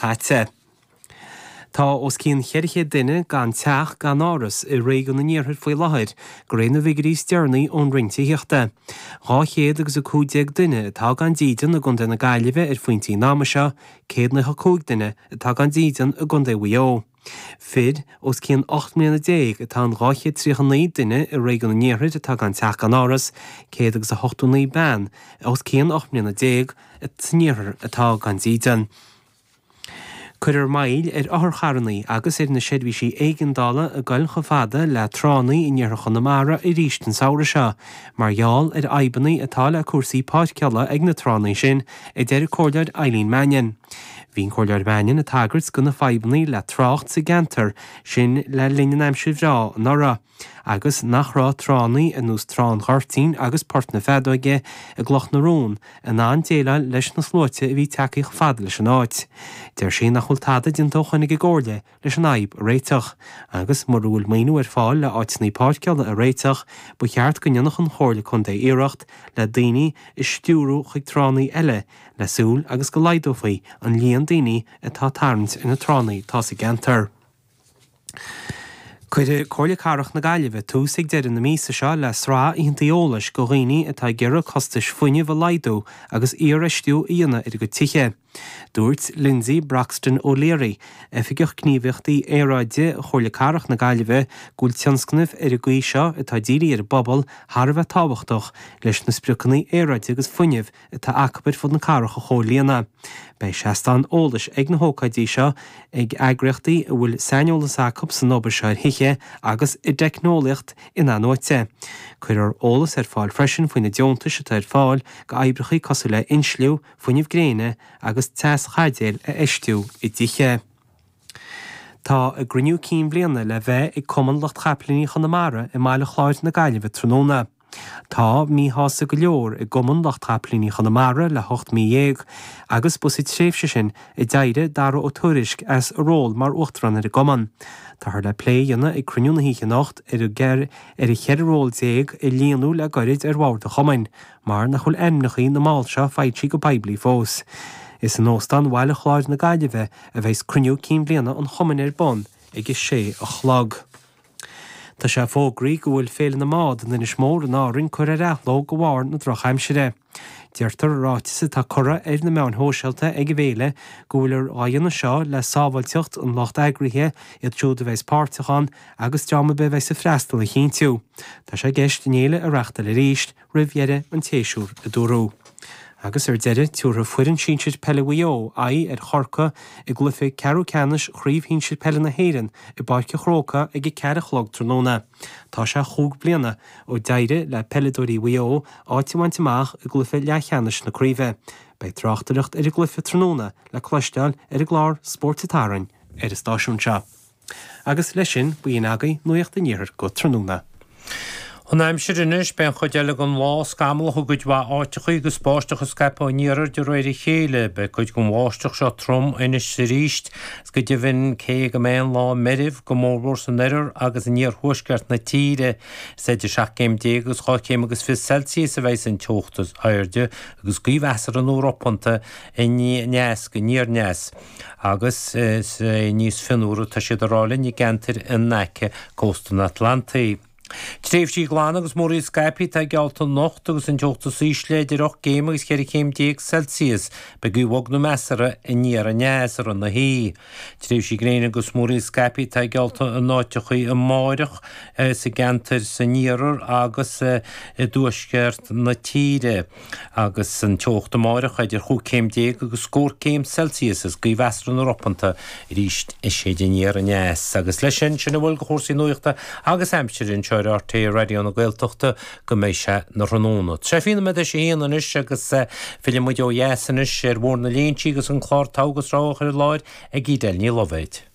Caite. Tá os cionn 400 duine gan teach gan áras i réigiún an Iarthair faoi láthair, de réir na bhfigiúirí is deireanaí ón Roinn Tithíochta. 200 agus 15 duine atá gan dídean i gContae na Gaillimhe ar phointí an ama seo, 195 duine atá gan dídean i gContae Mhaigh Eo. Fir os cionn 18 mbliana atá in 239 duine i réigiún an Iarthair atá gan teach gan áras, 100 agus 89 bean os cionn 18 mbliana san iarthar atá gan dídean. Cuirfear moill ar otharcharranna agus ar na seirbhísí éigeandála ag goil chomh fada le tránna in iarthar Chonamara arís an samhradh seo mar gheall ar fhadhbanna atá le cúrsaí páirceála ag na tránna sin, a deir an Comhairleoir Eileen Mannion. Bhí an Comhairleoir Mannion ag tagairt do na fadhbanna le trácht sa gceantar sin le linn an aimsir bhreá anuraidh. agus nach raibh tránna ar nós Trá an Ghoirtín agus Port na Feadóige i gCloch na Rón in ann déileáil leis na sluaite a bhí tagtha chomh fada leis an áit. Deir sí nach bhfuil tada déanta ó shoin ag an gComhairle leis an fhadhb a réiteach, agus mura bhfuil maoiniú ar fáil le áiteanna páirceála a réiteach, ba cheart go ndéanfadh an Chomhairle Contae iarracht le daoine a stiúradh chuig tránna eile le súil agus go laghdófaí an líon daoine atá ag tarraingt ar na tránna atá sa gceantar. Cuirfidh Comhairle Cathrach na Gaillimhe tús ag deireadh na míosa seo le sraith oícheanta eolais do dhaoine atá ag iarraidh costais fuinnimh a laghdú agus iarfheistiú a dhéanamh ar a gcuid tithe. Dúirt Lindsay Broxton O'Leary, Oifigeach Gníomhaíochtaí Aeráide Chomhairle Cathrach na Gaillimhe, go bhfuil tionscnaimh ar an gcaoi seo atá dírithe ar an bpobal thar a bheith tábhachtach leis na spriocanna aeráide agus fuinnimh atá acu ar fud na cathrach a chomhlíonadh. Beidh seastáin eolais ag na hócáidí seo ag eagraíochtaí a bhfuil saineolas acu san obair seo ar thithe agus i dteicneolaíocht in-athnuaite. Cuirfear eolas ar fáil freisin faoi na deontais atá ar fáil d'oibreacha cosúil le insliú, fuinneamh gréine agus teaschaidéil a fheistiú i dtithe. Tá a gcruinniú cinn bhliana le bheith ag Cumann Lucht Chapaillíní Chonamara i mBaile Chláir na Gaillimhe tráthnóna. Tá míshásamh go leor i gCumann Lucht Chapaillíní Chonamara le hocht mí dhéag agus ba sa tréimhse sin a d'éirigh Dara Ó Tuairisg as a ról mar Uachtarán ar an gcumann. Táthar le plé a dhéanamh ag cruinniú na hoíche anocht ar an cheithre ról déag a líonadh le gairid ar bhord an chumainn, mar nach bhfuil ainmneacha na mball seo foilsithe go poiblí fós. Is in Óstán Bhaile Chláir na Gaillimhe a bheas cruinniú cinn bhliana an chumainn ar bun ag a sé a chlog. Tá sé fógraithe go bhfuil Féile na mBád in Inis Mór in Árainn curtha ar athló de bharr na drochaimsire. Deirtear i ráiteas atá curtha ar na meáin shóisialta ag an bhféile go bhfuiltear á dhéanamh seo le sábháilteacht an lucht eagraithe, iad siúd a bheas páirteach ann agus dream ar bith a bheas ag freastal a chinntiú. Tá sé i gceist an fhéile a reachtáil arís roimh dheireadh an tséasúir, a dúradh. Agus ar deireadh, tabharfaidh foireann sinsir peile Mhaigh Eo aghaidh ar Chorcaigh i gcluiche ceathrú ceannais Chraobh Shinsir Peile na hÉireann i bPáirc an Chrócaigh ag a ceathair a chlog tráthnóna. Tá sé chúig bliana ó d'éirigh le peileadóirí Mhaigh Eo áit a bhaint amach i gcluiche leathcheannais na craoibhe. Beidh tráchtaireacht ar an gcluiche tráthnóna le cloisteáil ar an gclár Spóirt an tSathairn ar an stáisiún seo. Agus leis sin, b'in agaibh Nuacht an Iarthair go tráthnóna. An aimsir anois, beidh an chuid eile den lá scamallach i gcuid mhaith áiteachaí agus báisteach ag scaipeadh an iarthair de réir a chéile. Beidh cuid den bháisteach seo trom anois is arís is go deimhin cé go mbeidh an lá meirbh, go mórmhór san oirthear agus in iarthuaisceart na tíre. Is idir 17 céim agus 12 chéim agus 20 Celsius a bheidh an teocht is airde agus gaoth mheasartha nó ropánta aneas go aniar aneas. agus is é níos fionnuaire atá siad a rá linn i gceantair in aice cósta an Atlantaigh. Tréimhsí glana agus múraíl scaipthe atá geallta anocht agus an teocht is ísle idir 8 gcéim agus 14 chéim Celsius. Beidh gaoth bhog nó measartha aniar aneas i rith na hoíche. Tréimhsí gréine agus múraíl scaipthe atá geallta in áiteachaí amáireach sa gceantar san iarthar agus i dtuaisceart na tíre. Agus an teocht amáireach idir chúig chéim déag agus scór céim Celsius is gaoth mheasartha nó ropánta arís ag séideadh aniar aneas. Agus leis sin, sin a bhfuil de chúrsaí nuachta agus aimsire anseo ar RTÉ Raidió na Gaeltachta go mbeidh sé 'na thráthnóna. Tá sé 20 nóiméad théis a haon anois agus fillfidh muid ó dheas anois ar Bhóthar na Léinsí agus an clár Togha agus Rogha á chur i láthair ag Edel Ní Loibhéid.